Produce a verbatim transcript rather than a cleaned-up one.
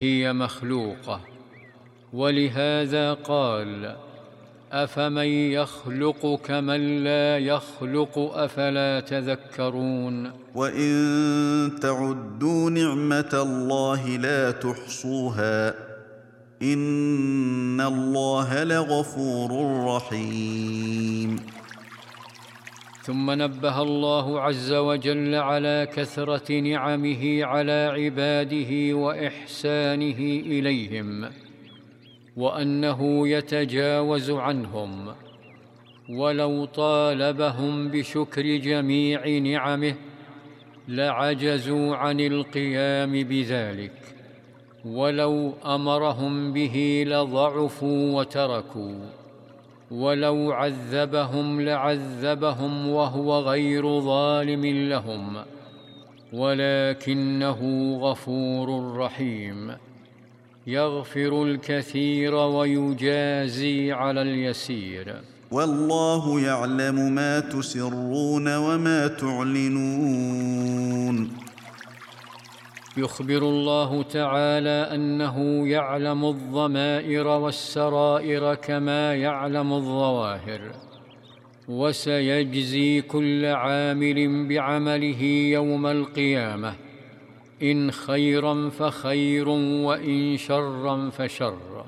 هي مخلوقة، ولهذا قال: أفمن يخلق كمن لا يخلق أفلا تذكرون. وإن تعدوا نعمة الله لا تحصوها إن الله لغفور رحيم. ثم نبه الله عز وجل على كثرة نعمه على عباده وإحسانه إليهم، وأنه يتجاوز عنهم، ولو طالبهم بشكر جميع نعمه لعجزوا عن القيام بذلك، ولو أمرهم به لضعفوا وتركوا، ولو عذبهم لعذبهم وهو غير ظالم لهم، ولكنه غفور رحيم، يغفر الكثير ويجازي على اليسير. والله يعلم ما تسرون وما تعلنون. يخبر الله تعالى أنه يعلم الضمائر والسرائر كما يعلم الظواهر، وسيجزي كل عامل بعمله يوم القيامة، إن خيرا فخير وإن شرا فشر.